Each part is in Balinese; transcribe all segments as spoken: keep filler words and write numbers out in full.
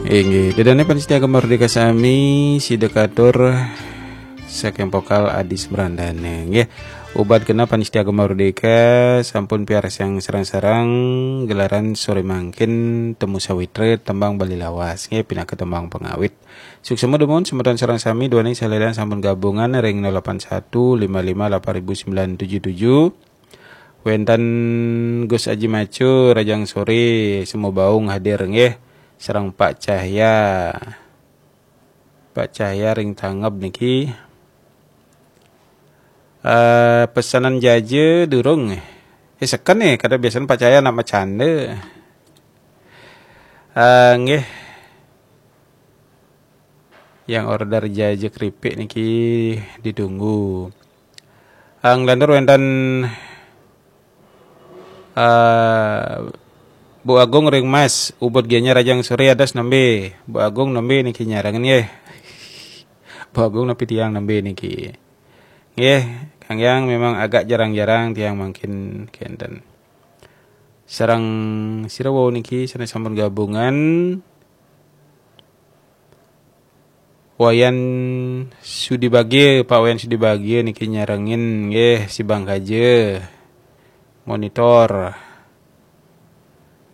Inggih, ida dané pamiarsa Gema Merdeka sami, sida katur saking vokal Adis Brandana nggih. Ubat kena pamiarsa Gema Merdeka sampun piarsang sareng-sareng gelaran sore mangkin Temu Sawitra tembang Bali Lawas nggih pinaka tembang pangawit. Suksma dumun semeton sareng sami duaning salira sampun gabungan ring nol delapan satu lima lima delapan ribu sembilan tujuh tujuh. Wénten Gus Aji Macu, Rajang Sore, Semu Baung hadir nggih. Sareng Pak Cahya. Pak Cahya ring tanggap niki. Eh, pesanan jaja durung. Eh, seken nih, kada biasanya Pak Cahya nak macanda. Eh, nggih. Yang order jaja keripik niki ditunggu. Ang lantur wénten eh, Bu Agung ring Mas, ubud gianya Rajang Sore adas nembe. Bu Agung nembe niki nyarengin nggih. Bu Agung napi tiang nembe niki. Nggih, Kang Yang memang agak jarang-jarang tiang mangkin kenten. Sareng sira wau niki sané sampun gabungan. Wayan Sudi Bagia, Pak Wayan Sudi Bagia niki nyarengin nggih si Bang Kaja. Monitor.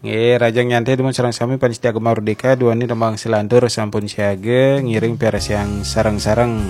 Nggih, Rajang Nyantai dumun sareng sami pamiarsa Gema Merdeka duaning tembang selantur sampun siaga ngiring piarsang sareng-sareng.